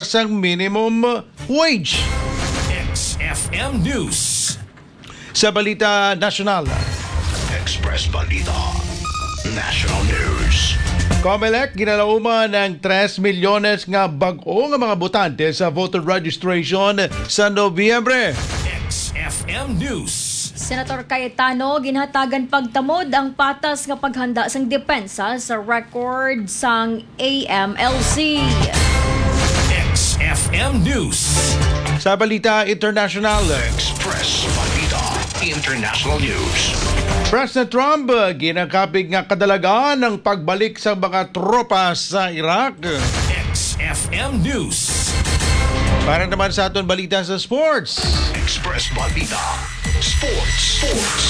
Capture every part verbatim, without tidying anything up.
sang minimum wage. X F M News. Sa balita nasyonal, Express Balita National News. Comelec ginalauman ang tres milyones nga bag-o nga mga botante sa voter registration sa Nobyembre. X F M News. Senator Cayetano, ginhatagan pagtamod ang patas nga paghanda sang depensa sa record sang A M L C. X F M News. Sa balita international, Express Balita International News. President Trump, ginakapig nga kadalagan ang pagbalik sa mga tropa sa Iraq. X F M News. Para naman sa aton balita sa sports, Express Balita Sports. Sports.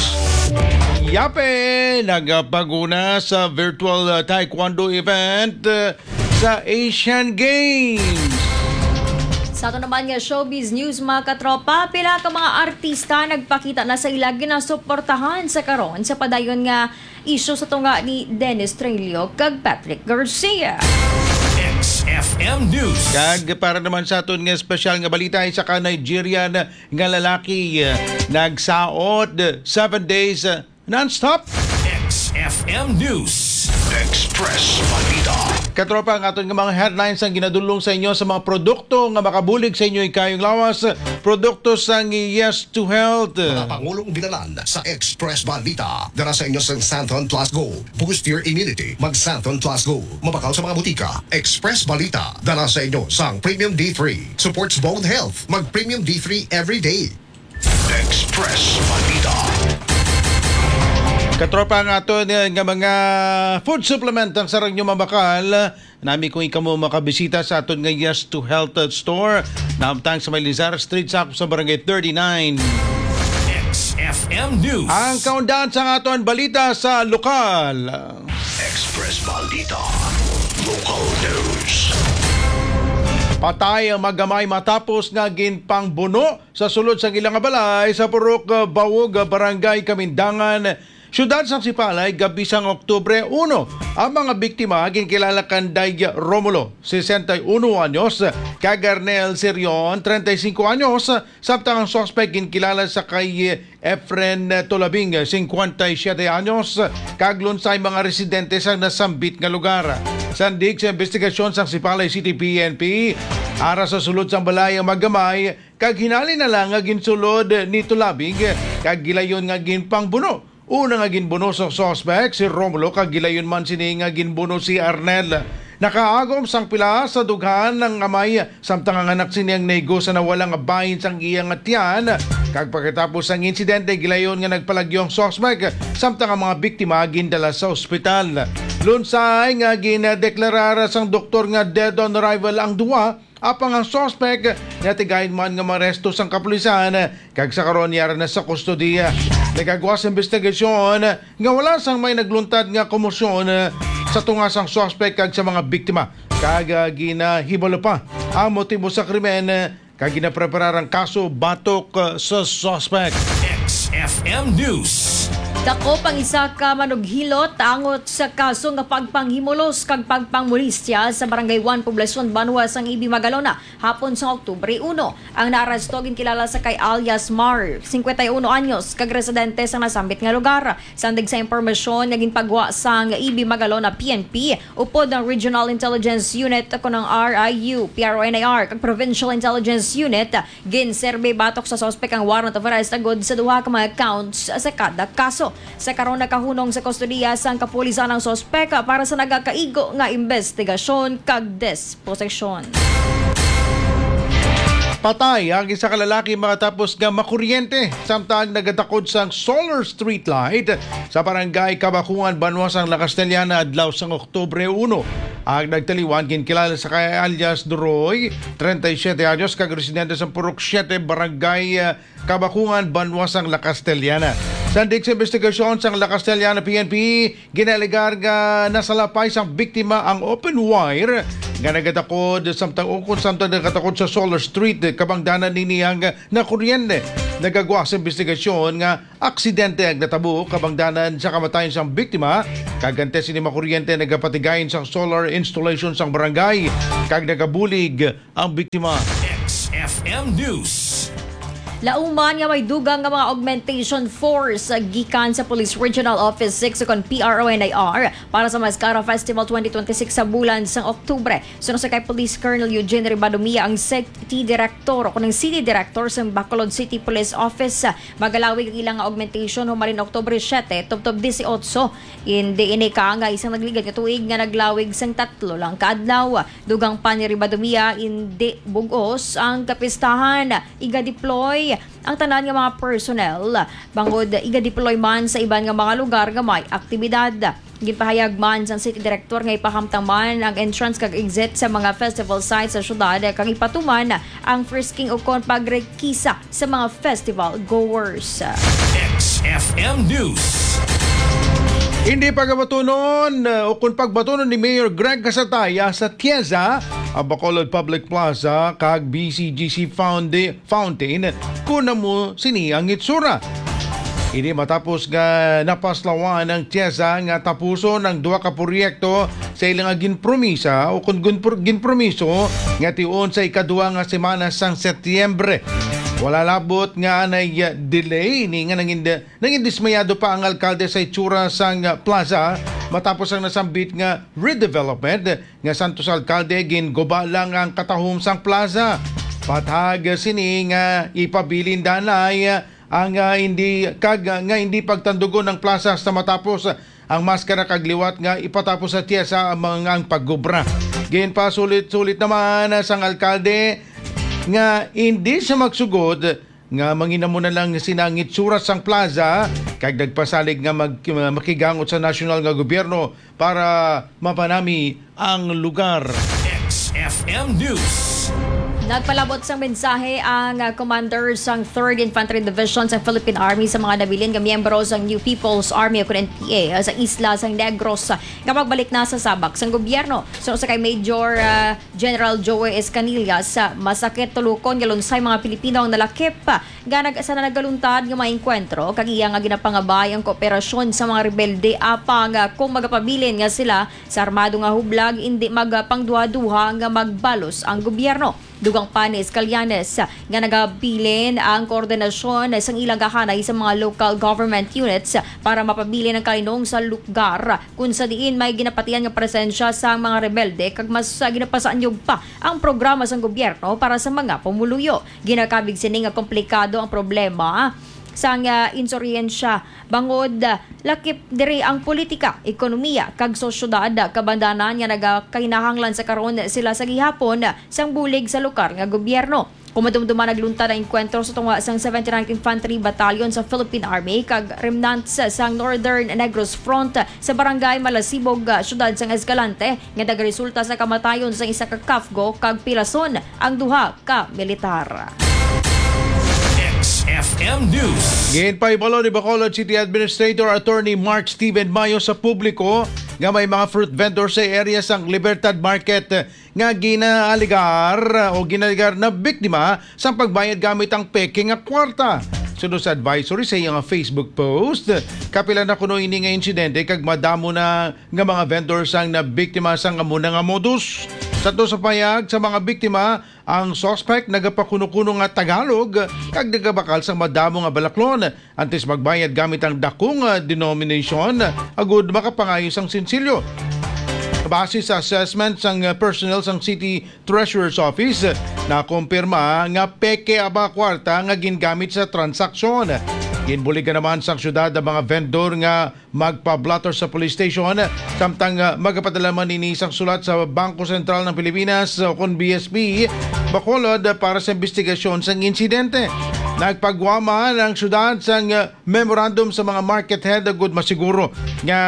Yape nagapaguna sa virtual, uh, taekwondo event, uh, sa Asian Games. Sa ato naman nga showbiz news, mga katropa, pila ka mga artista nagpakita na sa ila ginasuportahan sa karon sa padayon nga isyu sa tunga ni Dennis Trillo kag Patrick Garcia. X F M News. Kag para naman sa aton nga espesyal nga balita, isa ka Nigerian nga lalaki, eh, nagsaot seven days, eh, non-stop. X F M News. Express Balita. Katropa, ang aton nga mga headlines ang ginadulong sa inyo sa mga produkto nga makabulig sa inyo ikayong lawas. Produkto sang Yes to Health. Mga pangulong binalan sa Express Balita. Dala sa inyo sang Santon Plus Go. Boost your immunity. Mag Santon Plus Go. Mabakal sa mga butika. Express Balita. Dala sa inyo sang Premium D three. Supports bone health. Mag Premium D three every day. Express Balita. Katropa, ang aton, eh, nga mga food supplement ang sarang nyo mabakal. Nami kung ikaw mo makabisita sa aton nga Yes to Health Store. Naamtang sa may Lizar Street, sa, sa Barangay thirty-nine. X F M News. Ang kaundan sa aton balita sa lokal. Express Balita. Local News. Patay ang maggamay matapos nga ginpangbuno sa sulod sang ila nga balay sa Purok, uh, Bawog, uh, Barangay Kamindangan, Siyudad sang Sipalay, gabi sang Oktubre uno. Ang mga biktima ginkilala kan Day Romulo, sesenta y uno anyos, kag Arnel Serion, treinta y cinco anyos, samtang ang suspek ginkilala sa kay Efren Tulabing, cincuenta y siete anyos, kag lunsay mga residente sa nasambit nga lugar. Sandig sa investigasyon sang Sipalay City P N P, ara sa sulod sang balay ang maggamay, kag hinali na lang nga ginsulod ni Tulabing kag gilayon nga ginpangbuno. Una nga ginbuno sa suspek si Romulo, kag gilayon man sini nga ginbuno si Arnel. Nakaagom sang pila sa dughan ang amay, samtang ang anak sini ang naigo sa nawala nga bahin sang iya nga tiyan. Kag pagkatapos sang insidente, gilayon nga nagpalagyo ang suspek, samtang ang mga biktima gindala sa ospital. Lunsay nga gindeklarar sang doktor nga dead on arrival ang duwa, apang ang suspek natigayon man nga maresto sang kapulisan, kag sa karon yara na sa kustodiya. Nagagwa sa investigasyon nga wala sang may nagluntad nga komosyon sa tunga sang suspek kag sa mga biktima, kag, ah, ginahibalo pa ang motibo sa krimen, kag ginapreparar ang kaso batok, ah, sa suspek. X F M News. Dakop ang isa ka manughilot angot sa kaso nga pagpanghimulos kag pagpangmolestya sa Barangay One, Poblacion Banwa sang Ibi, Magalona, hapon sa Oktubre uno. Ang naaresto ginkilala sa kay alias Mar, cincuenta y uno anyos, kag residente sa nasambit nga lugar. Sandig sa impormasyon nga ginpagwa sang Ibi, Magalona P N P, upod ang Regional Intelligence Unit, kon ang R I U, P R O N I R, kag Provincial Intelligence Unit, ginserbi batok sa suspek ang warrant of arrest agud sa duha ka mga counts sa kada kaso. Sa karon, nakahunong sa kustodiya sang kapulisan ang suspek para sa nagakaigo nga investigasyon kag disposisyon. Patay ang isa ka lalaki matapos nga makuryente samtang nagatakod sang solar street light sa barangay Kabakungan, Banwa sang La Castellana, adlaw sang Oktubre uno. Ang nagtaliwan ginkilala sa kay alias Duroy, treinta y siete anyos, kag residente sa Purok siete, Barangay, ah, Kabakungan, Banwa sang La Castellana. Sandig sa investigasyon sang La Castellana P N P, ginalegar nga nasalapay sang biktima ang open wire nga nagatakod samtang ukon samtang nagatakod sa Solar Street, kabangdanan nini ang nakuryente. Nagagwa sa investigasyon nga aksidente ang natabo, kabangdanan sa kamatayon sang biktima, kag antes ini makuryente nagapatigayon sang solar installation sang barangay kag nagabulig ang biktima. X F M News. Lauman nga may dugang nga mga augmentation force gikan sa Police Regional Office six ukon P R O N I R para sa Mascara Festival twenty twenty-six sa bulan sang Oktubre. Suno sa kay Police Colonel Eugene Ribadomia, ang City Director o kunang City Director sa Bacolod City Police Office, magalawig ang ilang augmentation humalin Oktubre siete tubtob dieciocho. Indi ini ka nga isang nagligad nga tuig nga naglawig sang tatlo lang ka adlaw. Dugang pa ni Ribadumia, indi bug-os ang kapistahan. Iga-deploy ang tanan nga mga personnel, bangod iga-deploy man sa iban nga mga lugar nga may aktibidad. Ginpahayag man sang city director nga ipahamtang man ang entrance kag exit sa mga festival sites sa syudad kag ipatuman ang frisking ukon pagrekisa sa mga festival goers. X F M News. Hindi pagabatunon, uh, o kung pagbatunon ni Mayor Greg Casataya sa Tiesa, ang Bacolod Public Plaza kag B C G C Founda-, Fountain, kuna mo sini ang itsura. Ini matapos nga napaslawan ang Tiesa nga tapuson ang duha ka proyekto sa ilang nga ginpromisa o kung ginpro-, ginpromiso nga tion sa ikaduha nga semana sang Setyembre. Wala labot nga anay, uh, delay ni nga nangin-, nangin dismayado pa ang alkalde sa itsura sang, uh, plaza matapos ang nasambit nga redevelopment nga santos alkalde ginguba lang ang katahom sang plaza. Pathag sini nga ipabilin danay ang, ah, hindi kag, ah, nga hindi pagtandugon ang plaza sa matapos ang maskara kag liwat nga ipatapos sa Tiesa ang mga ang pagobra. Ginpasulit-sulit naman sang alkalde nga hindi siya magsugod nga manginamo na lang sinangit surat sang plaza kag nagpasalig nga mag-, makigangot sa nasyonal nga gobyerno para mapanami ang lugar. X F M News. Nagpalabot sang mensahe ang, ah, commander sang Third Infantry Division sa Philippine Army sa mga nabilin nga miyembro sang New People's Army o N P A, ah, sa isla sang Negros, ah, nga magbalik na sa sabak sang gobyerno. Suno sa kay Major, ah, General Joey Escanilla, sa masakit tulukon nga lunsay mga Pilipino ang nalakip, ah, nga nag-, sa nagaluntad nga mga engkwentro kag iya nga ginapangabay ang kooperasyon sa mga rebelde apang, ah, kung magapabilin nga sila sa armado nga hublag, indi magapangduha-duha nga magbalos ang gobyerno. Dugang pa ni Escalianes nga nagabilin ang koordinasyon sang ilang kahanay sa mga local government units para mapabilin ang kalinong sa lugar kung sa diin may ginapatian nga presensya sa mga rebelde kag mas, ah, ginapasaanyog pa ang programa sang gobyerno para sa mga pumuluyo. Ginakabig sini nga komplikado ang problema sang, ah, insuryensya bangod, ah, lakip diri ang politika, ekonomiya, kag sosyedad, kabandanan nga nagakahinahanglan sa karon sila sa gihapon sang bulig sa lokal nga gobyerno. Kung madumduman, nagluntad ang engkwentro sa tunga sang seventy-ninth Infantry Battalion sa Philippine Army kag remnants sang Northern Negros Front sa Barangay Malasibog, ah, siyudad sang Escalante, nga nagresulta sa kamatayon sang isa ka CAFGO kag pilason ang duha ka militar. X F M News. Ginpahibalo ni Bacolod City Administrator Attorney Mark Steven Mayo sa publiko nga may mga fruit vendor sa area sang Libertad Market nga ginaaligar o ginaaligar na biktima sa pagbayad gamit ang peke nga kwarta. Suno sa advisory sa iyang Facebook post, kapila na kuno ini nga insidente kag madamo na nga mga vendors ang nabiktima sang amo na nga modus. Sa to sa payag sa mga biktima, ang suspect nagapakuno-kuno nga Tagalog kag nagabakal sang madamo nga balaklon antes magbayad gamit ang dako nga denomination agud makapangayo sang sinsilyo. Base sa assessment sang personnel sang City Treasurer's Office, nakumpirma nga peke ang mga kwarta nga gingamit sa transaksyon. Ginbuligan naman sang syudad ang mga vendor nga magpa-blotter sa police station, samtang, ah, magapadala man ini sang sulat sa Bangko Sentral ng Pilipinas o kon B S P Bacolod para sa investigasyon sang insidente. Nagpagwa man ang syudad sang, ah, memorandum sa mga market head agud masiguro nga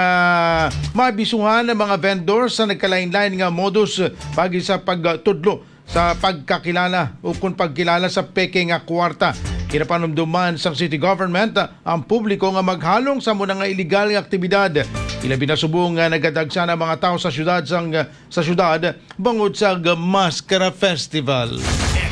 mabisuhan ang mga vendor sa nagkalain-lain nga modus pagi sa pagtudlo sa pagkakilala o kung pagkilala sa peke nga kwarta. Ginapanumduman sang city government ang publiko nga maghalong sa amo na nga iligal nga aktibidad. Ilabi na subong nga nagadagsa ang mga tawo sa syudad sang, sa syudad bangod sa Maskara Festival.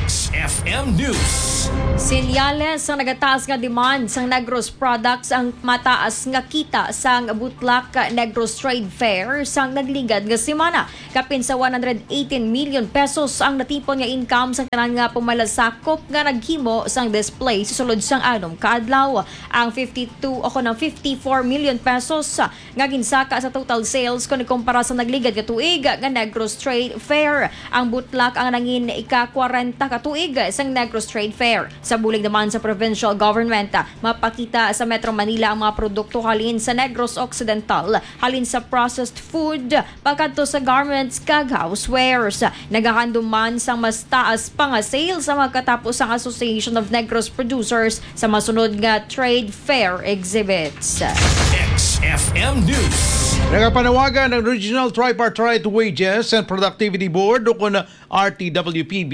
X F M News. Sinyales ang nagataas nga demand sang Negros products ang mataas nga kita sang Butlak Negros Trade Fair sang nagligad nga semana. Kapin sa one hundred eighteen million pesos ang natipon nga income sang tanan nga pumalasakop nga naghimo sang display sa sulod sang anom ka adlaw. Ang fifty-two o kon ang fifty-four million pesos nga ginsaka sa total sales kon ikumpara sa nagligad nga tuig nga Negros Trade Fair. Ang Butlak ang nangin ika-kwarenta ka tuig sang Negros Trade Fair. Sa bulig naman sa provincial government, mapakita sa Metro Manila ang mga produkto halin sa Negros Occidental, halin sa processed food, pagkadto sa garments kag housewares. Nagahandom man sang mas taas pa nga sales ang mga katapos sang Association of Negros Producers sa masunod nga trade fair exhibits. X F M News. Nagapanawagan ang Regional Tripartite Wages and Productivity Board o kon R T W P B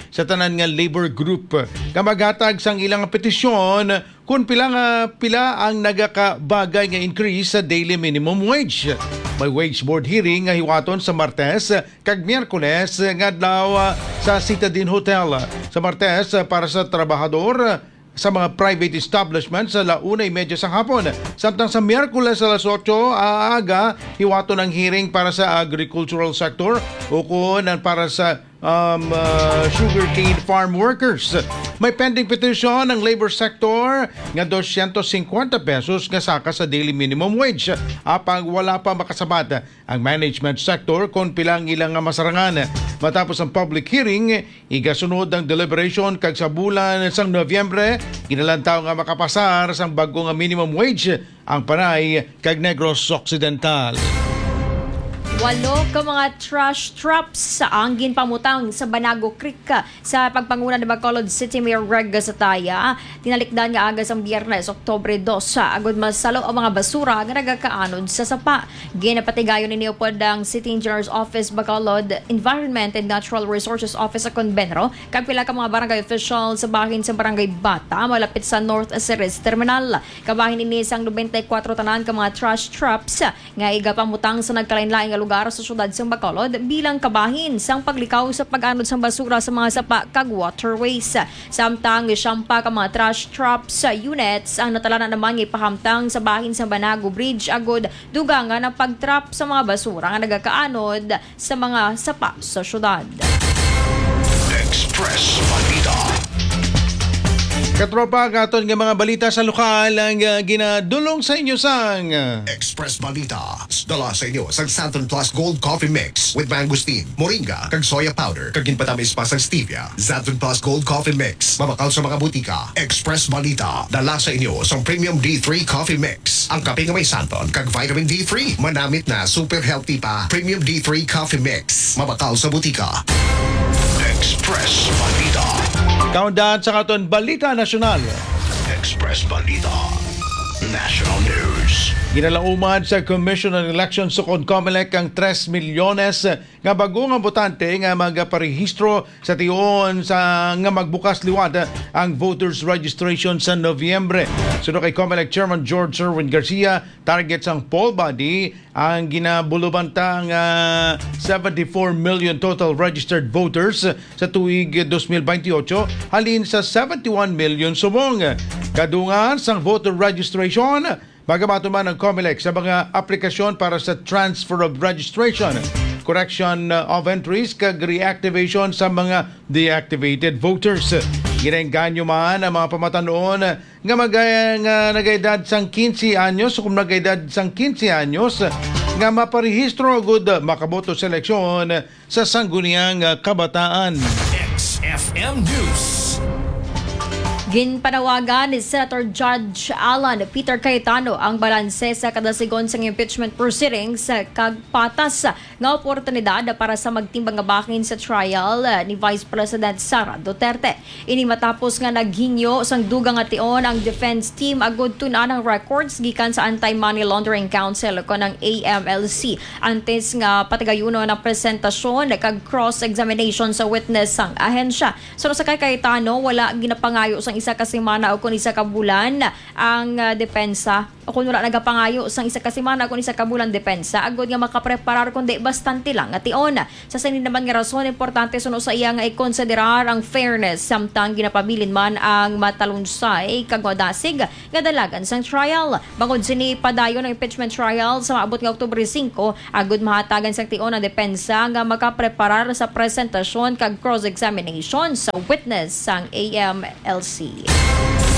sa tanan nga labor group nga maghatag sang ilang petisyon kung pila nga pila ang nagakabagay nga increase sa daily minimum wage. May wage board hearing nga hiwaton sa Martes kag Miyerkules nga adlaw sa Citadin Hotel. Sa Martes, para sa trabahador sa mga private establishment sa la una y media sang hapon. Samtang sa Miyerkules alas otso aga, hiwaton ang hearing para sa agricultural sector ukon ang para sa um, uh, sugarcane farm workers. May pending petition ang labor sector nga dosyentos singkwenta pesos nga saka sa daily minimum wage, apang wala pa makasabat ang management sector kon pila ang ilang masarangan. Matapos ang public hearing, igasunod ang deliberation kag sa bulan sang Nobyembre, ginalantaw nga makapasar sang bag-o nga minimum wage ang Panay kag Negros Occidental. Walo ka mga trash traps ang ginpamutang sa Banago Creek sa pagpanguna ni Bacolod City Mayor Reg Gataya. Tinalikdan nga aga sang Biyernes, Oktubre dos, agud masalo ang mga basura nga nagakaanod sa sapa. Ginapatigayon ini upod ang City Engineer's Office, Bacolod Environment and Natural Resources Office sa Convenro, kag pila ka mga barangay officials sa bahin sa Barangay Bata, malapit sa North Ceres Terminal. Kabahin ini sang nobenta y kuwatro tanan ka mga trash traps nga igapamutang sa nagkalainlain nga lugar sa siyudad sang Bacolod bilang kabahin sang paglikaw sa pag-anod sang basura sa mga sapa kag waterways. Samtang siyampa ka mga trash traps units ang natalanan naman nga ipahamtang sa bahin sang Banago Bridge agud dugangan ang pag-trap sa mga basura nga nagakaanod sa mga sapa sa siyudad. Express Balita. Katropa, ang aton nga mga balita sa lokal ang uh, ginadulong sa inyo sang uh, Express Balita. Dala sa inyo sang Santon Plus Gold Coffee Mix with mangosteen, moringa, kag soya powder, kag ginpatamis pa sang stevia. Santon Plus Gold Coffee Mix, mabakal sa mga butika. Express Balita, dala sa inyo sang Premium D three Coffee Mix, ang kape nga may santon kag vitamin D three. Manamit na, super healthy pa. Premium D three Coffee Mix, mabakal sa butika. Express Balita. Kaundan sa katon Balita Nasyonal. Express Balita. National News. Ginalauman sa Commission on Elections o kon COMELEC ang tres milyones nga bag-o nga botante nga magaparehistro sa tion sa nga magbukas liwat ang voters registration sa Nobyembre. Suno kay COMELEC Chairman George Erwin Garcia, target sang poll body ang ginabulubanta nga seventy-four million total registered voters sa tuig twenty twenty-eight halin sa seventy-one million subong. Kadungan sang voter registration, magabaton man ang COMELEC sa mga aplikasyon para sa transfer of registration, correction of entries, kag reactivation sa mga deactivated voters. Ginaengganyo man ang mga pamatan-on nga mag nga nagaedad sang quince anyos o kung nagaedad sang quince anyos nga maparehistro gud makaboto sa eleksyon sa sangguniang kabataan. X F M News. Ginpanawagan ni Senator Judge Alan Peter Cayetano ang balanse sa kadasigon sang impeachment proceedings kag patas nga oportunidad para sa magtimbang nga bahin sa trial ni Vice President Sara Duterte. Ini matapos nga naghingyo sang dugang nga tion ang defense team agud tun-an ang records gikan sa Anti-Money Laundering Council o kon ang A M L C antes nga patigayunon ang presentasyon kag cross-examination sa witness sang ahensya. Suno sa kay Cayetano, wala ginapangayo sa isa ka semana o kon isa ka bulan ang, ah, depensa, o kon wala nagapangayo sang isa ka semana o kon isa ka bulan depensa, agod nga makapreparar kundi bastante lang nga tion. Sa sini naman nga rason, importante suno sa iya nga ikonsiderar ang fairness, samtang ginapabilin man ang matalunsay kag madasig nga dalagan sang trial. Bangod sini, padayon ang impeachment trial sa maabot nga Oktubre singko, agud mahatagan sang tion ang depensa nga makapreparar sa presentasyon kag cross-examination sa witness sang A M L C.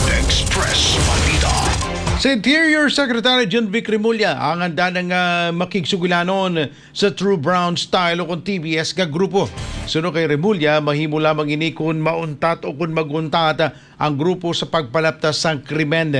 Express Balita. Si Interior Secretary John Vic Remulla ang handa na nga makigsugilanon sa True Brown Style o kon T B S nga grupo. Suno kay Remulla, mahimo lamang ini kon mauntat o kon maguntat ang grupo sa pagpalaptas sang krimen.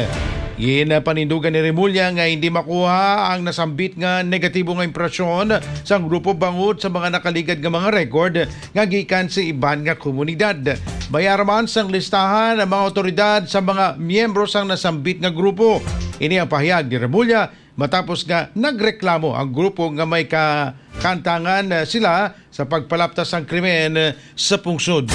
Ginpanindugan ni Remulla nga hindi makuha ang nasambit nga negatibo nga impresyon sang grupo bangod sa mga nakaligad nga mga record nga gikan sa iban nga komunidad. May ara man sang listahan ang mga awtoridad sa mga miyembro sang nasambit nga grupo. Ini ang pahayag ni Remulla matapos nga nagreklamo ang grupo nga may kakantangan, eh, sila sa pagpalaptas sang krimen, eh, sa pungsod.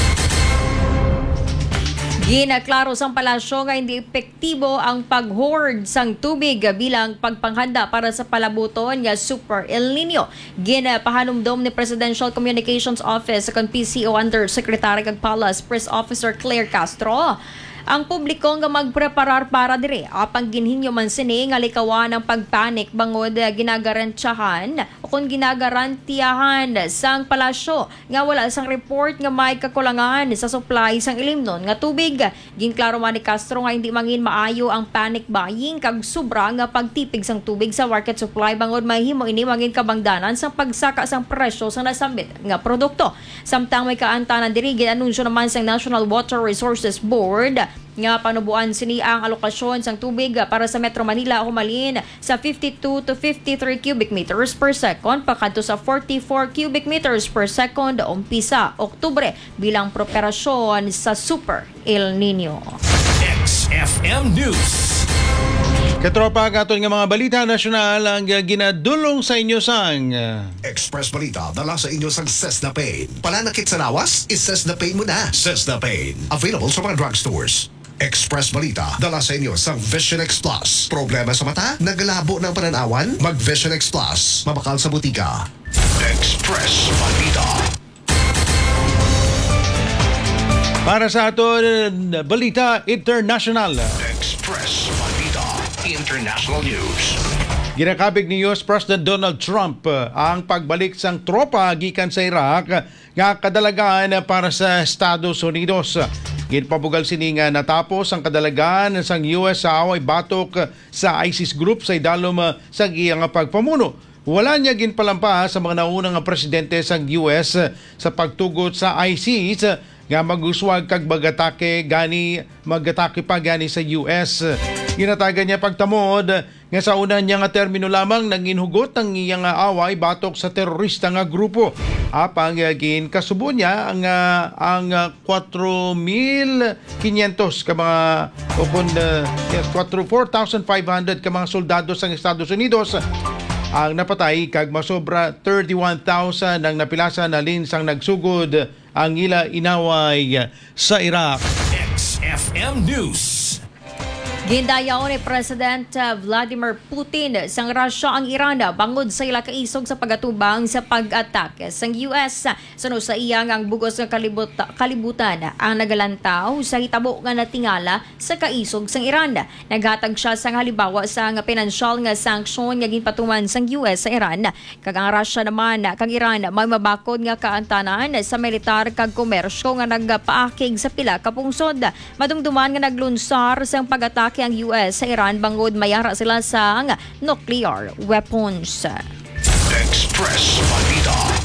Ginaklaro sang palasyo nga hindi epektibo ang pag-hoard sang tubig bilang pagpanghanda para sa palabuton nga Super El Nino. Ginapahanumdom ni Presidential Communications Office kon P C O Undersecretary kag Palace Press Officer Claire Castro ang publiko nga magpreparar para diri, apang ginhingyo man sini nga likawan ang pagpanik bangod, eh, ginagarantyahan o kon ginagarantiyahan sang palasyo nga wala sang report nga may kakulangan sa supply sang ilimnon nga tubig. Ginklaro man ni Castro nga hindi mangin maayo ang panic buying kag sobra nga pagtipig sang tubig sa market supply, bangod mahimo ini mangin kabangdanan sang pagsaka sang presyo sang nasambit nga produkto. Samtang may kaantanan diri, gin-anunsyo naman sang National Water Resources Board nga panuboan sini ang alokasyon sang tubig para sa Metro Manila humalin sa fifty-two to fifty-three cubic meters per second pakadto sa forty-four cubic meters per second umpisa Oktubre bilang preparasyon sa Super El Nino. X F M News. Katropa, ang aton nga mga balita nasyonal ang, ah, ginadulong sa inyo sang, ah, Express Balita, dala sa inyo sang Cesna Pain. Pananakit sa lawas? I-Cesna Pain mo na. Cesna Pain. Available sa mga drugstores. Express Balita, dala sa inyo sang Vision X Plus. Problema sa mata? Nagalabo na ang pananawan? Mag Vision X Plus. Mabakal sa butika. Express Balita. Para sa aton balita international. Express Balita International News. Ginakabig ni U S President Donald Trump, uh, ang pagbalik sang tropa gikan sa Iraq nga kadalagan para sa Estados Unidos. Ginpabugal sini nga natapos ang kadalagan sang U S sa away batok sa ISIS group sa idalom, uh, sa iya nga pagpamuno. Wala niya ginpalampa sa mga nauna nga presidente sang U S sa pagtugot sa ISIS nga mag-uswag kag mag-atake gani, mag-atake pa gani sa U S. Ginatagan niya pagtamod nga sa una niya nga termino lamang nangin hugot ang iya nga away batok sa terorista nga grupo. Apang, ah, ginkasubo niya ang, ah, ang, ah, kwatro mil kinyentos ka mga, o kun, ah, yes, kwatro, four thousand five hundred ka mga soldado sang Estados Unidos ang napatay, kag masobra thirty-one thousand ang napilasan halin sang nagsugod ang ila inaway sa Iraq. X F M News. Gindayaw ni President, uh, Vladimir Putin sang Russia ang Iran bangod sa ila kaisog sa pagatubang sa pag-atake sang U S. Suno sa iya nga ang bug-os nga kalibut-, kalibutan ang nagalantaw sa hitabo nga natingala sa kaisog sang Iran. Naghatag sia sang halimbawa sang pinansyal nga sanction nga ginpatuman sang U S sa Iran. Kag ang Russia naman kag Iran may mabakod nga kaantanan sa militar kag komersyo nga nagpaakig sa pila ka pungsod. Madumduman nga naglunsar sang pag-atake ang U S sa Iran bangod may ara sila sang nuclear weapons. Express Balita.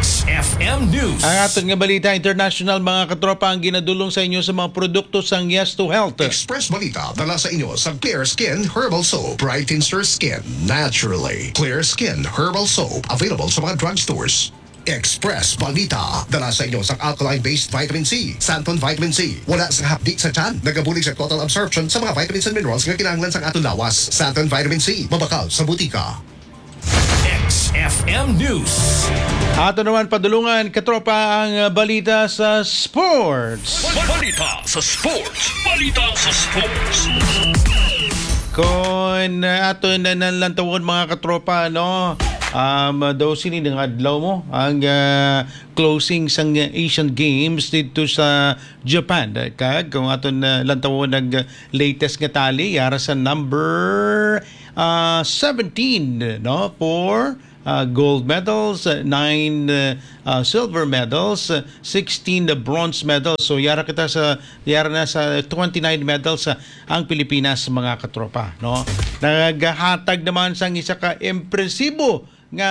X F M News. Ang aton nga balita international, mga katropa, ang ginadulong sa inyo sa mga produkto sang Yes to Health. Express Balita, dala sa inyo sa Clear Skin Herbal Soap. Brightens your skin naturally. Clear Skin Herbal Soap, available sa mga drugstores. Express Balita, dala sa inyo sang alkaline-based vitamin C, Santon Vitamin C. Wala sang hapdi sa tiyan, nagabulig sa total absorption sa mga vitamins and minerals nga kinahanglan sang aton lawas. Santon Vitamin C, mabakal sa butika. X F M News. Ato naman padulungan, katropa, ang, uh, balita sa sports. Balita sa sports. Balita sa sports. Kung, uh, ato na nalantawon, mga katropa, no? Um, daw sini nga adlaw mo ang, uh, closing sang Asian Games dito sa Japan. Kag kung aton, uh, lantawon ang, uh, latest nga tally, yara sa number, uh, seventeen, no? For uh, gold medals, uh, nine, uh, uh, silver medals, uh, sixteen the bronze medals. So yara kita sa yara na sa twenty-nine medals, uh, ang Pilipinas, mga katropa, no? Nagahatag naman sang isa ka impresibo nga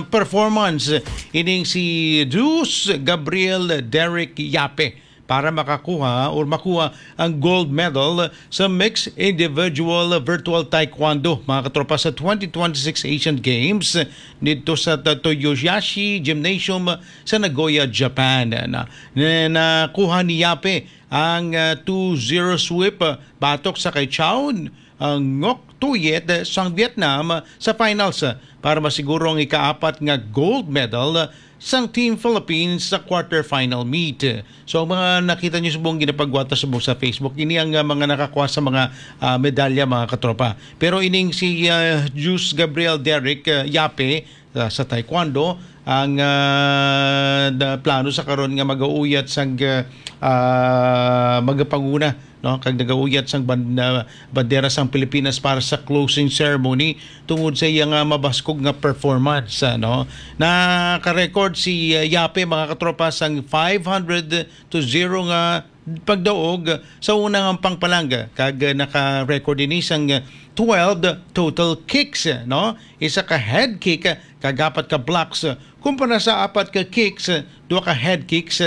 performance ining si Juice Gabriel Derek Yape para makakuha or makuha ang gold medal sa mixed individual virtual taekwondo, mga katropa, sa twenty twenty-six Asian Games dito sa Ta-, Toyoyashi Gymnasium sa Nagoya, Japan. Na, na, nakuha ni Yape ang, ah, two zero sweep, ah, batok sa kay Chaun, ah, Ngoc Tuyet, ah, sang Vietnam, ah, sa finals, ah, para masiguro ang ikaapat nga gold medal, ah, sang Team Philippines sa quarterfinal meet. So, ang mga nakita niyo subong ginapagwata subong sa Facebook, ini ang, ah, mga nakakuha sa mga, ah, medalya, mga katropa. Pero ining si, ah, Juice Gabriel Derek, ah, Yape, ah, sa taekwondo, ang, ah, da-, plano sa karon nga magauyat sang, ah, ah, magapanguna, no, kag nagauyat sang ban-, ah, bandera sang Pilipinas para sa closing ceremony tungod sa iya nga mabaskog nga performance, ah, no. Naka-record si, ah, Yape, mga katropa, sang five hundred to zero nga pagdaog sa unang hampang pa lang, kag naka-record ini sang twelve total kicks, no? Isa ka head kick, kag apat ka blocks, kumpara sa apat ka kicks, duha ka head kicks,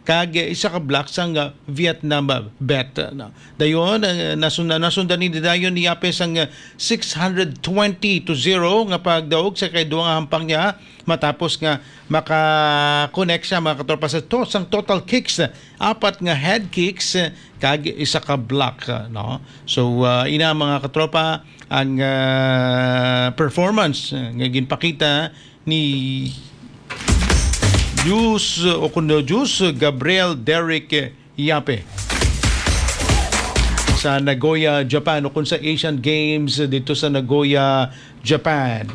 kag isa ka block sang Vietnam vet, no? Dayon, eh, nasundan, nasundan ni dayon ni Yape sang six hundred twenty to zero nga pagdaog sa kay duha nga hampang niya, matapos nga maka-connect siya, mga katropa, sa to-, sang total kicks, apat nga head kicks, kag isa ka block, no? So, ah, ina, mga katropa, ang, ah, performance, ah, nga ginpakita ni Juice, o kuno Juice Gabriel Derek Yape sa Nagoya, Japan, o kung sa Asian Games dito sa Nagoya, Japan.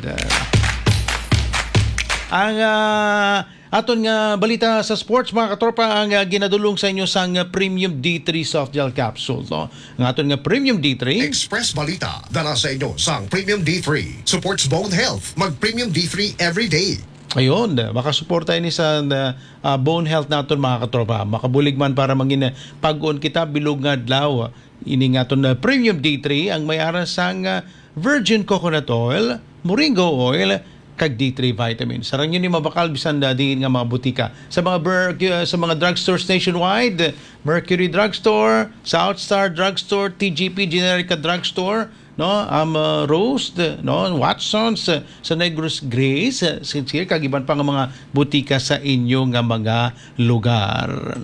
Ang, ah, aton nga balita sa sports, mga katropa, ang, ah, ginadulong sa inyo sang Premium D three Soft Gel Capsule, no? Ang aton nga Premium D three. Express Balita, dala sa inyo sang Premium D three. Supports bone health. Mag Premium D three every day. Ayun, makasuporta ini sa, ah, ah, bone health naton, mga katropa. Makabulig man para mangin, ah, pag-on kita bilog nga adlaw. Ini nga aton, ah, Premium D three ang may ara sang, ah, virgin coconut oil, moringa oil, kag D three vitamins. Sarang yun yung mabakal bisan na diin nga mga butika. Sa mga ber-, sa mga drugstores nationwide, Mercury Drugstore, South Star Drugstore, T G P Generica Drugstore, no? Am, uh, Rose, no? Watsons, uh, sa Negros Grace, uh, Sincere, kag iban pa nga mga butika sa inyo nga mga lugar.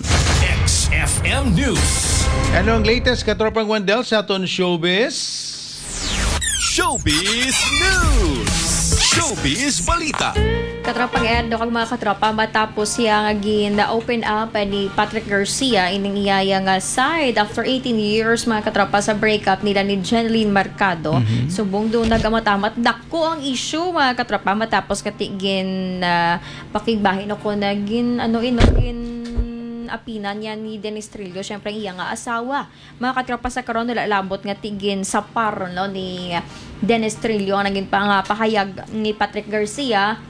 X F M News. Ano ang latest, katropang Wendell, sa aton showbiz? Showbiz News. Showbiz Balita. Katropang Ed, no, kag mga katropa, matapos siya nga gin-open up ni Patrick Garcia ining iyaya nga side after eighteen years, mga katropa, sa breakup nila ni Jeneline Mercado. Mhm. Subong do nagamatam-at dako ang issue, mga katropa, matapos kati gin, ah, pakigbahin ako na gin, ano, ino, gin apinan niya ni Dennis Trillo, syempre, ang iya nga asawa. Mga katropa, sa karon, wala labot nga tigin sa par, no, ni Dennis Trillo ang naging pangapahayag ni Patrick Garcia.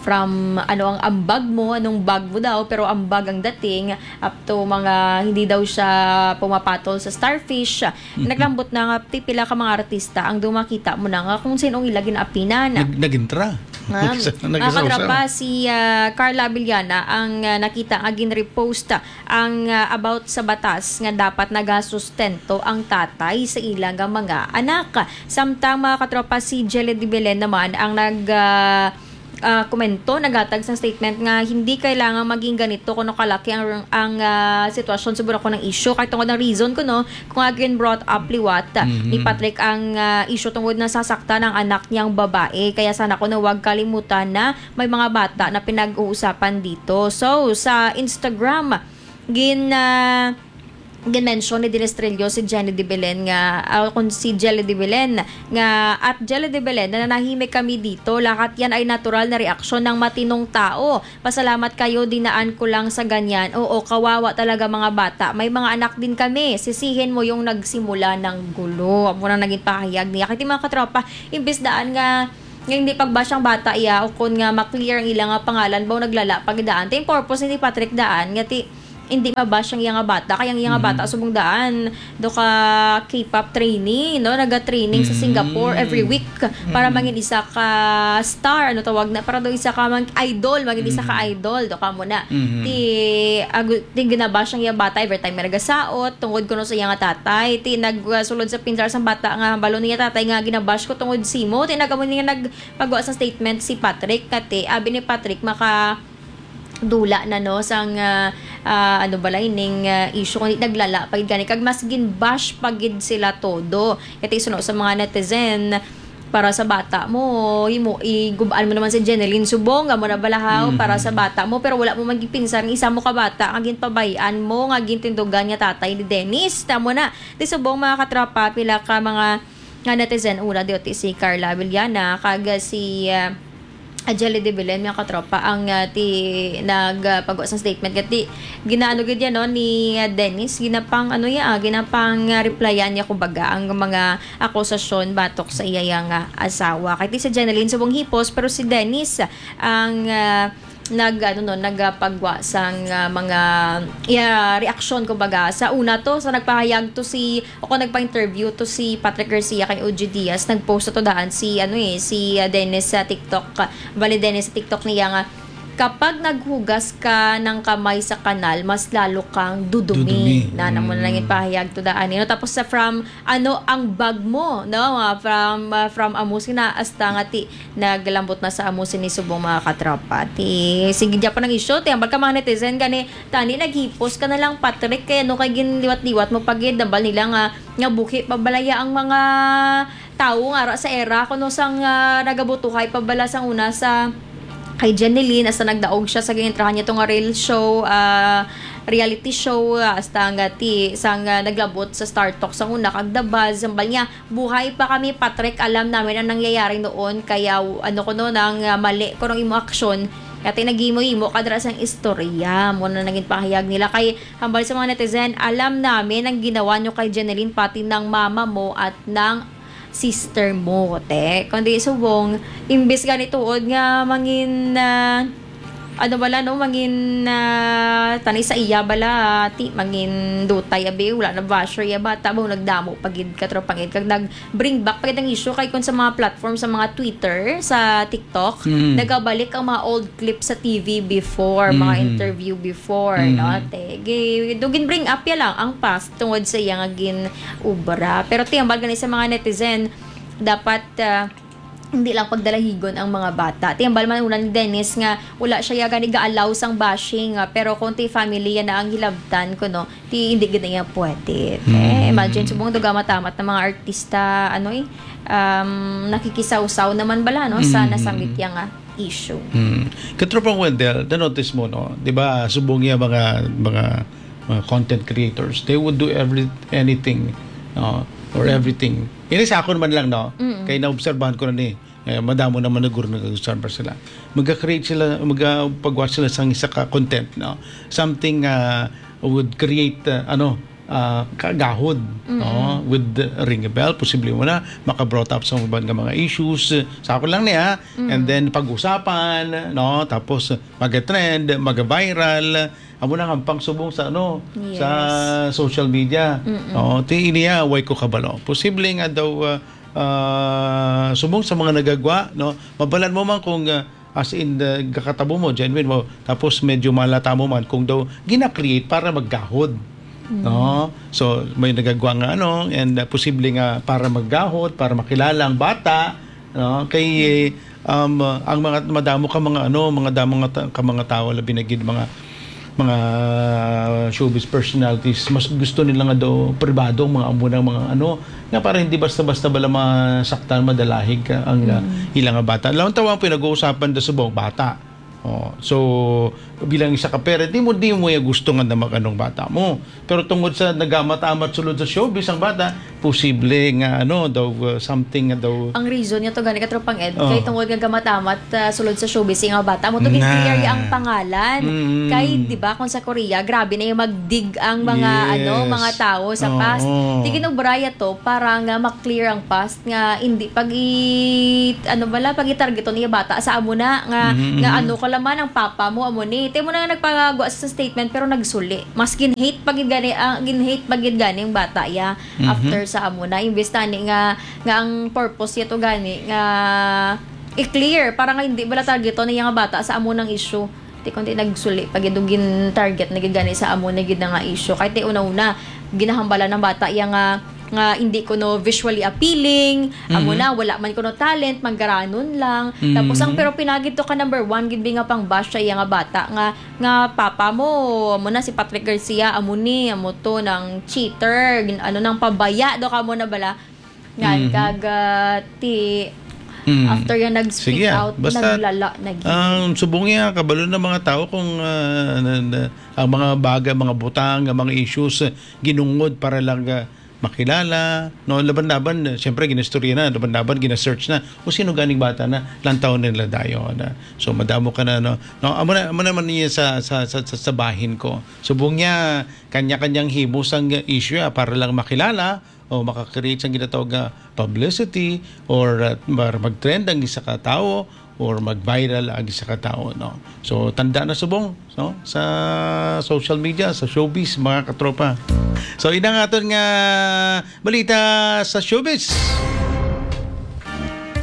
From ano ang ambag mo, anong bag mo daw, pero ambag ang dating, up to mga hindi daw siya pumapatol sa Starfish. Naglambot na nga ti pila ka mga artista ang dumakita mo na nga kung sinong ila ginapinan. Nag-, nagintra. Ma'am, Nagsa-, mga nagsasaw-saw. Katropa, si, ah, Carla Abellana ang, ah, nakita nga gin-repost ang, ah, about sa batas nga dapat nagasustento ang tatay sa ila nga mga anak. Samtang, mga katropa, si Jelly de Belen naman ang nag, ah, ah, komento, naghatag sang statement nga hindi kailangan maging ganito kuno kalaki ang, ang, ah, sitwasyon sa Bulacan ng issue. Kay tungod ang reason kuno, kung again brought up liwat, ah, ni Mhm. Patrick ang, ah, issue tungod nasasaktan ang anak niyang babae. Kaya sana kuno wag kalimutan na may mga bata na pinag-uusapan dito. So, sa Instagram, gin, ah, gin-mention ni Dennis Trillo si Jenny de Belen nga, ah, kung si Jelly de Belen nga, "At Jelly de Belen, nananahimik kami dito. Lahat yan ay natural na reaksyon ng matinong tao. Pasalamat kayo, dinaan ko lang sa ganyan. Oo, kawawa talaga mga bata. May mga anak din kami. Sisihin mo yung nagsimula ng gulo." Amo na naging pahayag niya. Kay ti mga katropa, imbis daan nga, nga hindi pagbash ang bata iya, o kun nga ma-clear ang ila nga pangalan, baw naglala pag daan. Ti yung purpose ni Patrick daan, nga ti, hindi mabash ang iya nga bata, kay ang iya nga Mhm. bata subong daan, do ka K-pop training, no? Naga-training sa Mhm. Singapore every week para Mhm. mangin isa ka star, ano tawag na, para do isa ka mang idol, mangin isa ka Mhm. idol, do ka mo na. Mhm. Ti, agu-, ti ginabash ang iya bata every time may nagasaot, tungod kuno sa iya nga tatay. Ti nagsulod sa pinsar sang bata nga, "Balo niya tatay nga ginabash ko tungod simo." Ti nagamo niya nagpagawa sa statement si Patrick, kati, abi ni Patrick, maka dula na, no, sang, ah, ah, ano bala ining, ah, issue, kundi naglala pa gid gani, kag mas gin-bash pa gid sila todo. Kay ti suno sa mga netizen, "Para sa bata mo, himo, igubaan mo naman si Jeneline subong, amo na bala haw, para sa Mhm. bata mo, pero wala mo man gipinsan nga isa mo ka bata nga ginpabay-an mo, nga gintindugan nga tatay ni Dennis." Tamo na, ti subong, mga katropa, pila ka mga nga netizen, una diyo ti si Carla Avellana kag si, ah, Jelly de Belen, mga katropa, ang, ah, ti nagpagawa sang statement. Kati ginaano gid yan, no, ni, ah, Dennis, ginapang, ano ya, ah, ginapang, ah, replyan niya, kumbaga, ang mga akusasyon batok sa iya yang, ah, asawa. Kay ti si Jeneline subong hipos, pero si Dennis ang, ah, nag, ano, no, nagapagwa sang, ah, mga, iya, reaksyon, kumbaga. Sa una to, sa nagpahayag to si, o kung nagpa-interview to si Patrick Garcia kay O G Diaz, nag-post to daan si, ano eh, si, ah, Dennis sa TikTok, ah, bali Dennis sa TikTok niya nga, "Kapag naghugas ka ng kamay sa kanal, mas lalo kang dudumi." Dudumi. Na, na mo na lang Mm. ipahayag to daan, you know? Tapos sa from, ano, ang bag mo, no? Ah, from, ah, from amo sina hasta nga ti naglambot na sa amo sini subong, mga katropa. Ti, sige, dyan pa nang issue. Ti, hambal ka, mga netizen, gani, tani, naghipos ka na lang, Patrick, kay ano kay ginliwat-liwat mo pa gid, hambal nila nga, nga buhi pa balaya ang mga tawo nga ara sa era, kuno sang, ah, nagabutuhay pa bala sang una sa kay Jeneline, hasta nagdaog siya sa gintrahan niya to nga real show, ah, reality show, ah, hasta nga ti, sang, ah, naglabot sa Star Talk sang una, kag The Buzz, hambal niya, "Buhay pa kami, Patrick. Alam namin ang nangyayari noon, kaya, ano ko no, nang, ah, mali ko nang imo aksyon. Kati nagimo-imo ka dira sang istorya." Mo na naging pahayag nila kay hambal sa mga netizen, "Alam namin ang ginawa nyo kay Jeneline, pati ng mama mo at ng sister mo, te." Kundi subong, imbis gani tuod nga mangin, ah, ano bala, no, mangin, ah, tani sa iya bala, ti, mangin dutay, abi, wala na basher iya bata, ba, nagdamo pa gid, katropang ed, kag nag-bring back pa gid ang issue kay kung sa mga platform, sa mga Twitter, sa TikTok, Mm. nagabalik ang mga old clip sa T V before, mga Mm. interview before, Mm. no, te. Gi-, do gin-bring up ya lang ang past tungod sa iya nga gin-ubra. Pero ti, hambal gani sa mga netizen, dapat, ah, hindi lang pagdalahigon ang mga bata. Ti, hambal man una ni Dennis nga wala siya ya gani ga-allow sang bashing, ah, pero kung ti family ya na ang hilabtan ko, no, ti hindi gid na iya pwede. Eh, Mm. imagine, subong duga matamat na mga artista, ano eh, um, nakikisawsaw naman bala, no, sa Mm. nasamit ya nga issue. Mm. Katropang Wendell, na-notice mo, no? Di ba, subong ya mga, mga, mga content creators, they would do every, anything, no? Or Mm. everything. Ini sa akon man lang, no? Mm. Kay naobserbahan ko na ni, eh, madamo naman na guro nag-observe sila. Maga-create sila, maga-pagwa sila sang isa ka content, no? Something, ah, would create, ah, ano, ah, kagahod, Mm. no? Would ring a bell, posible mo na maka-brought up sa uban nga mga issues. Sa ako lang niya, Mm. and then pag-usapan, no? Tapos maga-trend, maga-viral. Amo na nga ang pangsubong sa, ano, Yes. sa social media. Mm-mm. No? Ti iniya, way ko kabalo. Posible nga daw, ah, ah, subong sa mga nagagwa, no? Mabalan mo man kung, ah, as in, ah, gakatabo mo, genuine mo, tapos medyo malata mo man kung daw gina-create para maggahod, Mm. no? So, may nagagwa nga, ano, and, ah, posible nga para maggahod, para makilala ang bata, no? Kay, eh, Um, uh, ang mga madamo ka mga ano, mga damo nga ta-, ka mga tawo, labi na gid mga, mga showbiz personalities, mas gusto nila nga daw pribado ang mga amo nang mga ano, nga para hindi basta-basta bala masaktan, madalahig ka ang, uh, Mm. ila nga bata. Lawan tawa ang pinag-uusapan da subong bata. Oh, so, bilang isa ka parent, di mo, di mo ya gusto nga na mag-anong bata mo. Pero tungod sa nagamat-amat sulod sa showbiz ang bata, posible nga ano daw, uh, something nga daw. Ang reason niya to gani, katropang Ed, Oh. kay tungod nga gamat-amat, ah, sulod sa showbiz nga bata mo to Na. gin-clear ang pangalan. Mm. Kay, di ba, kung sa Korea, grabe na yung magdig ang mga, Yes. ano, mga tao sa Oo. past. Di ginubraya to para nga ma-clear ang past nga hindi pag i-, ano bala, pag i-targeton iya bata sa amo na nga, Mhm, nga mhm. ano ka laman ang papa mo amo ni. Tay mo na nga nagpagwa sa statement pero nagsuli. Mas gin-hate pa gid gani, ah, gin-hate pa gid gani ang bata iya Mhm. after sa amo na. Imbes tani nga, nga ang purpose niya to gani nga i-clear para nga hindi bala targeton niya nga bata sa amo nang issue. Ti kundi nagsuli pa gid og gin-target na gid gani sa amo na gid na nga issue. Kay ti una-una, ginahambalan ng bata iya nga, nga hindi kuno visually appealing, amo Mhm. na, wala man kuno talent, manggaranon lang. Tapos ang Mhm. pero pinagid to ka number one gid bi nga pang-bash sa iya nga bata nga, nga papa mo, amo na si Patrick Garcia, amo ni, amo to, nang cheater, gin-, ano, nang pabaya do ka mo na bala. Nga, Mhm. kag, ah, ti, Mm. after yan, nag-speak Sige, ah. out, Basta, naglala na gid. Ang subong niya, kabalo na mga tao kung, ah, na, na, ang mga bagay, mga butang, ang mga issues, ah, ginungod para lang, ah, makilala, no? Laban-laban, ah, siyempre, ginistorya na, laban-laban, gina-search na. Kung sino ganing bata na, lantaw nila dayon, ah. So, madamo ka na, no? No, amo na, amo naman niya sa, sa, sa, sa, sa bahin ko. Subong niya, kanya-kanyang himo sang issue, ah, para lang makilala, o maka-create sang ginatawag nga publicity or, uh, mar-, mag-trend ang isa ka tawo or mag-viral ang isa ka tawo, no? So, tanda na subong, no? Sa social media, sa showbiz, mga katropa. So, ina nga aton nga balita sa showbiz.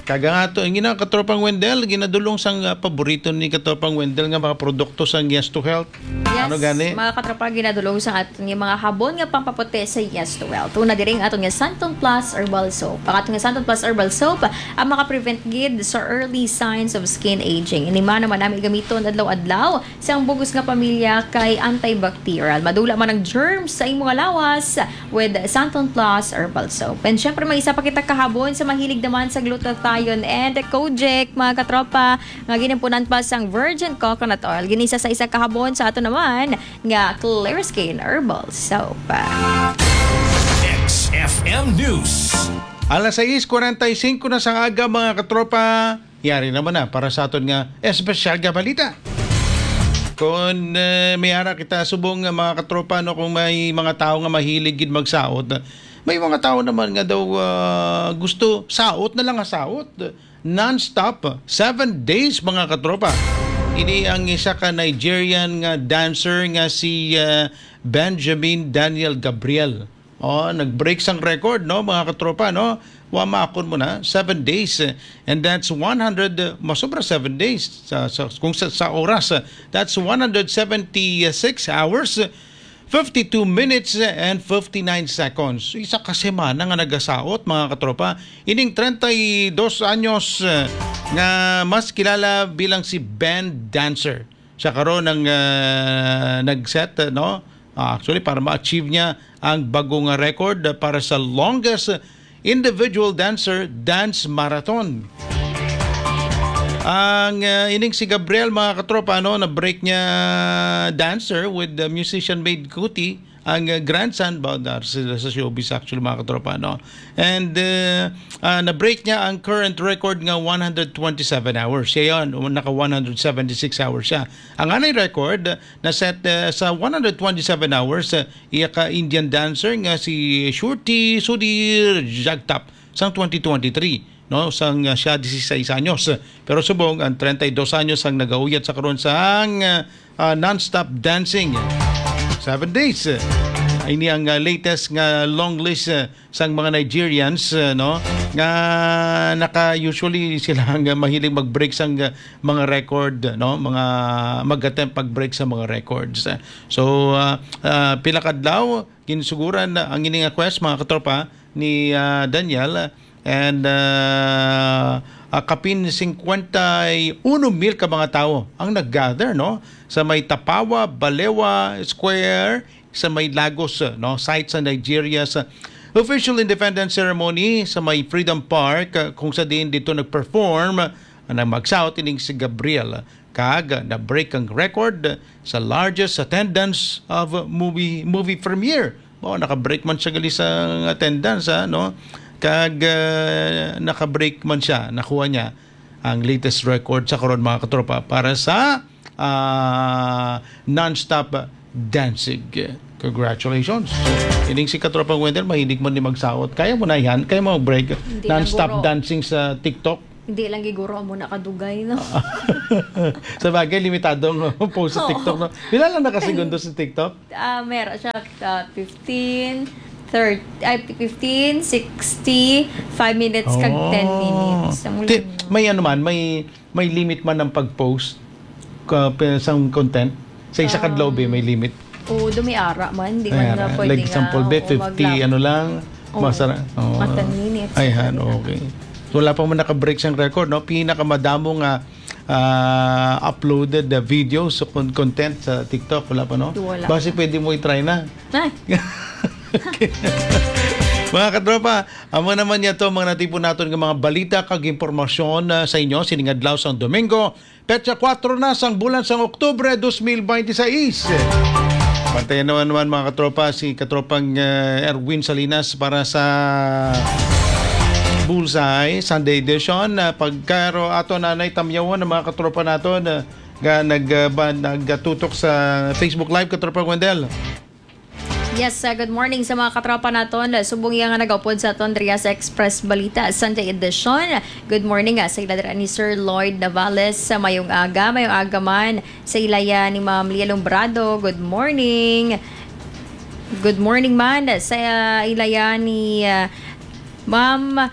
Kag ang ato, ang ina katropang Wendell, ginadulong sang, uh, paborito ni katropang Wendell nga mga produkto sang Yes to Health. Yes, Ano gani? mga katropa, ginadulong sa aton nga mga habon nga pampaputi sa Yes to Health. Una diri ang aton nga Santon Plus Herbal Soap. Ang aton nga Santon Plus Herbal Soap, ang makaprevent gid sa early signs of skin aging. Ini man naman nami gamiton adlaw-adlaw sa ang bugos nga pamilya kay antibacterial. Madula man ang germs sa imong lawas with Santon Plus Herbal Soap. And syempre, may isa pa kita kahabon sa mahilig naman sa glutathione and kojic, mga katropa, nga ginimpunan pa sang virgin coconut oil. Ginisa sa isa kahabon sa ato naman nga Clear Skin Herbal Soap. X F M News. Alas sais kwarenta y singko na sang aga, mga katropa. Yari naman na para sa aton nga espesyal nga balita. Kung, eh, may ara kita subong nga mga katropa, no, kung may mga tao nga mahilig gid magsaot, may mga tao naman nga daw, ah, gusto saot na lang nga saot. Non-stop, seven days, mga katropa. Ini ang isa ka Nigerian nga dancer nga si, ah, Benjamin Daniel Gabriel. Oh, nag-break sang record, no, mga katropa, no? Wa maakon mo na, seven days, eh, and that's one hundred, eh, masobra seven days sa, sa, kung sa, sa oras, eh, that's one hundred seventy-six hours, eh, fifty-two minutes, eh, and fifty-nine seconds. Isa ka semana nga nagasaot, mga katropa. Ining treinta y dos anyos, eh, nga mas kilala bilang si band dancer. Siya karon ang, ah, nag-set, eh, no? Ah, actually, para ma-achieve niya ang bago nga record para sa longest individual dancer dance marathon. Ang, ah, ining si Gabriel, mga katropa, ano, na-break niya dancer with the musician Maid Kuti, ang, ah, grandson, ba, dar-, sila sa showbiz actually, mga katropa, no? And, ah, ah, na-break niya ang current record nga one hundred twenty-seven hours. Siya yun, naka one hundred seventy-six hours siya. Ang anay record, na-set, eh, sa one hundred twenty-seven hours, eh, iya ka Indian dancer nga si Shruti Sudhir Jagtap sang twenty twenty-three, no, sang, ah, siya disisais anyos. Pero subong ang treinta y dos anyos ang nagauyat sa karon sang, ah, ah, non-stop dancing. Seven days. Ini ang, ah, latest nga long list, eh, sang mga Nigerians, eh, no, nga naka-, usually sila nga mahilig mag-break sang, ah, mga record, no, mga mag-attempt pag-break sa mga records. So, ah, ah, pila ka adlaw, ginsuguran na ang ini nga quest, mga katropa, ni, ah, Daniel, and, ah, ah, kapin singkwenta y uno mil ka mga tawo ang nag-gather, no, sa may Tapawa Balewa Square, sa may Lagos, no, site sa Nigeria, sa official independence ceremony sa may Freedom Park, ah, kung sa diin dito nag-perform ang magsaot ining si Gabriel, kag na-break ang record sa largest attendance of movie, movie premiere. Mao, naka-break man siya gali sa attendance, ha, no? Kag, ah, naka-break man siya, nakuha niya ang latest record sa karon, mga katropa, para sa, ah, non-stop dancing. Congratulations. So, ining si Katropang Wendell, mahilig man ni magsaot. Kaya mo na yan? Kaya mo mag-break? Hindi lang, non-stop guro. Dancing sa TikTok? Hindi lang giguro mo nakadugay, no? Sa bagay, limitado ang post sa Oo. TikTok, no? Pila lang nakasegundo sa TikTok? Ah, meron siya, ah, fifteen, thirty, ay, fifteen, sixty, five minutes, kag ten Oh. minutes. Ang Ti-, ulan. May ano man, may, may limit man ang pag-post ka, pe-, sa content? Sa isa ka Um, adlaw, be, may limit? Oo, do may ara man. Di May man ara. nga pwede Like, nga, example, be, oo, fifty, mag-, ano lang, oo, masara-, oo. Mga ten minutes. Ay, han, Pwede na. Okay. So, wala pa man naka-break siyang record, no? Pinakamadamo nga, ah, uploaded na video sa con-, content sa TikTok, wala pa, no? Wala Basi pa. Pwede mo i-try na. Ay. Okay. Mga katropa, amo naman niya to, mga natipon naton nga mga balita kag impormasyon, ah, sa inyo sining adlaw sang Domingo, petsa kuwatro na sang bulan sang Oktubre dos mil bente seis. Bantayan naman, naman, mga katropa, si katropang, ah, Erwin Salinas para sa Bullseye Sunday Edition. Ah, pagkaro ato nanay tamyawon ang mga katropa naton, ah, nga nag, ah, ba, nagatutok sa Facebook Live, katropang Wendell. Yes, uh, good morning sa mga katropa naton. Subong iya nga nagaupod sa aton diri sa Express Balita Sunday Edition. Good morning, ah, sa ila dira ni Sir Lloyd Navales. Sa mayong aga, mayong aga man sa ila ya ni Ma'am Lia Lombrado. Good morning. Good morning man sa, uh, ila ya ni, uh, Ma'am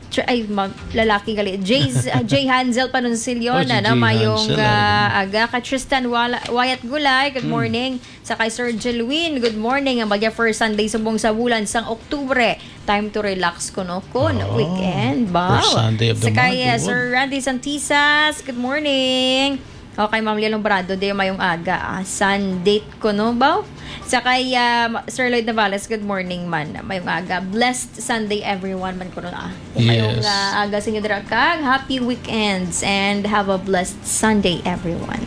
Tr-, ay, mag-, lalaki gali. Jay's, uh, Jay Hansel Panunsilyon, Oh, si ano, Jay mayong, Hansel, uh, ay. Aga. Kay Tristan Wala-, Wayat Gulay, good Hmm. morning. Sa kay Sir Jelwin, good morning. Ang bagya first Sunday subong sa bulan sang Oktubre. Time to relax kuno kun Oo. Weekend, ba? First Sunday of the Sa kay, month, uh, good. Sir Randy Santisas, good morning. O, kay Ma'am Lia Lombrado, di mayong aga, ah. Sun date kuno, ba? Sa kay, ah, Ma-, Sir Lloyd Navales, good morning man. Mayong aga. Blessed Sunday, everyone, man kuno, ah. Mayong, Yes. ah, aga sa inyo dira, kag happy weekends and have a blessed Sunday, everyone.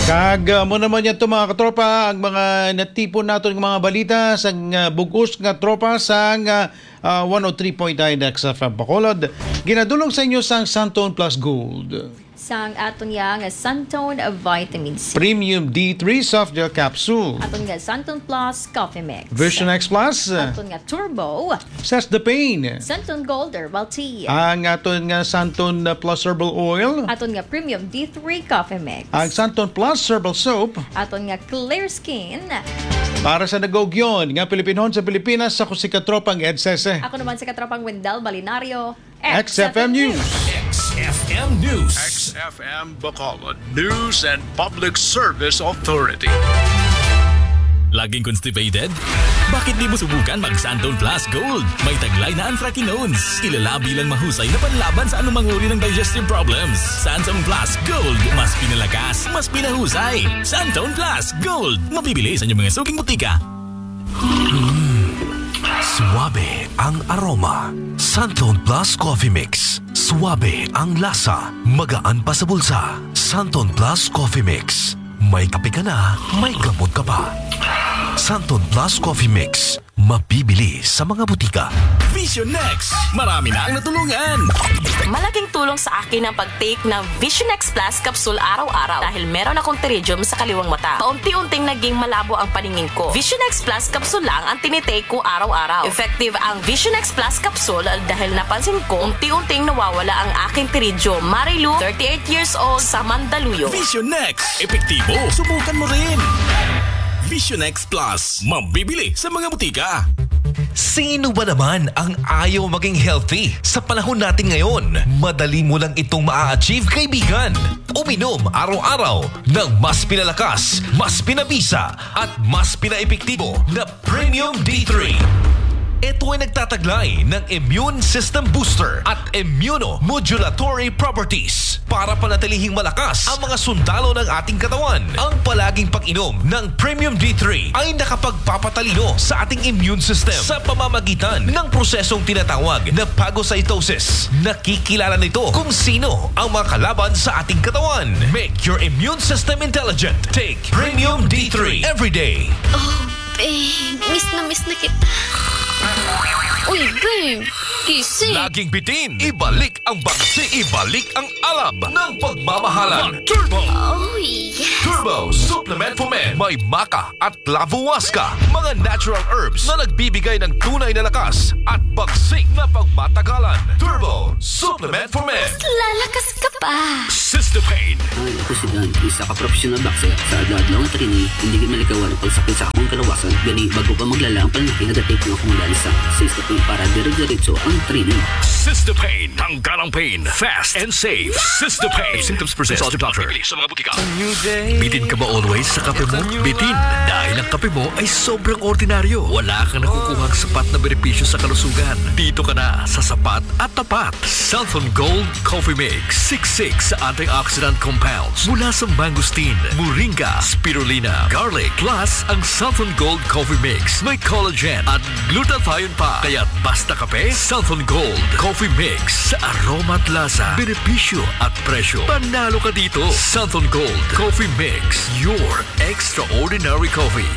Kag, ah, mo naman yan to, mga katropa, ang mga natipon naton nga mga balita sang, ah, bug-os nga tropa sang, ah, ah, one oh three point nine X F M Bacolod. Ginadulong sa inyo sang Santon Plus Gold. Sang aton nga, nga Santon Vitamin C. Premium D three Soft Gel Capsule. Aton nga Santon Plus Coffee Mix. Vision X Plus. Aton nga Turbo. Cess the Pain. Santon Gold Herbal Tea. Ang aton nga Santon Plus Herbal Oil. Aton nga Premium D three Coffee Mix. Ang Santon Plus Herbal Soap. Aton nga Clear Skin. Para sa nagugyon nga Pilipinhon sa Pilipinas, ako si Katropang Ed Sese. Ako naman si Katropang Wendell Balinario. X F M News. X F M News. X F M Bacolod News and Public Service Authority. Laging constipated? Bakit di mo subukan mag Santon Plus Gold? May taglay na anthracanones. Kilala bilang mahusay na panlaban sa anumang uri ng digestive problems. Santon Plus Gold, mas pinalakas, mas pinahusay. Santon Plus Gold, mabibili sa inyong mga suking butika. Mm. Suabe ang aroma. Santon Plus Coffee Mix. Suabe ang lasa. Magaan pa sa bulsa. Santon Plus Coffee Mix. May kape ka na, may gamot ka pa. Santon Plus Coffee Mix. Mabibili sa mga butika. Vision X. Marami na ang natulungan. Malaking tulong sa akin ang pag-take ng Vision X Plus capsule araw-araw dahil meron akong pterygium sa kaliwang mata. Paunti-unting naging malabo ang paningin ko. Vision X Plus capsule lang ang tinitake ko araw-araw. Effective ang Vision X Plus capsule dahil napansin ko unti-unting nawawala ang aking pterygium. Marilu, thirty-eight years old, sa Mandaluyong. Vision X. Epektibo. Subukan mo rin. Vision X Plus. Mabibili sa mga butika. Sino ba naman ang ayaw maging healthy sa panahon natin ngayon? Madali mo lang itong maa-achieve, kaibigan. Uminom araw-araw ng mas pinalakas, mas pinabisa, at mas pinaepektibo na Premium D three. Ito ay nagtataglay ng immune system booster at immunomodulatory properties para panatilihing malakas ang mga sundalo ng ating katawan. Ang palaging pag-inom ng Premium D three ay nakapagpapatalino sa ating immune system sa pamamagitan ng prosesong tinatawag na phagocytosis. Nakikilala nito kung sino ang mga kalaban sa ating katawan. Make your immune system intelligent. Take Premium D three every day. Oh, babe. Miss na miss na kita. Uy, babe. Gising. Laging bitin. Ibalik ang bagsi. Ibalik ang alab ng pagmamahalan. Turbo! Oh, yes. Turbo Supplement for Men. May maca at clavuasca, mga natural herbs na nagbibigay ng tunay na lakas at bagsik na pagmatagalan. Turbo Supplement for Men. Lalakas ka pa. Cystepain. Hi, ako si Dan, isa ka professional boxer. Sa adlaw-adlaw nga training, hindi gyud malikawan ang pagsakit sa akong kalawasan. Gani, bago pa maglala ang pananakit, nag-take na akong Lansa Cystepain para dire-diretso ang training. Cystepain. Tanggal ang pain. Fast and safe. Cystepain. If symptoms persist, consult your doctor. Bibili sa mga butika. Bitin ka ba always sa kape mo? Bitin. Dahil ang kape mo ay sobrang ordinaryo. Wala kang nakukuhang sapat na benepisyo sa kalusugan. Dito ka na sa sapat at tapat. Santhon Gold Coffee Mix. Siksik sa antioxidant compounds mula sa mangosteen, moringa, spirulina, garlic. Plus, ang Santhon Gold Coffee Mix may collagen at glutathione pa. Kaya basta kape, Santhon Gold Coffee Mix. Sa aroma at lasa, benepisyo at presyo, panalo ka dito. Santhon Gold Coffee Mix, your extraordinary coffee.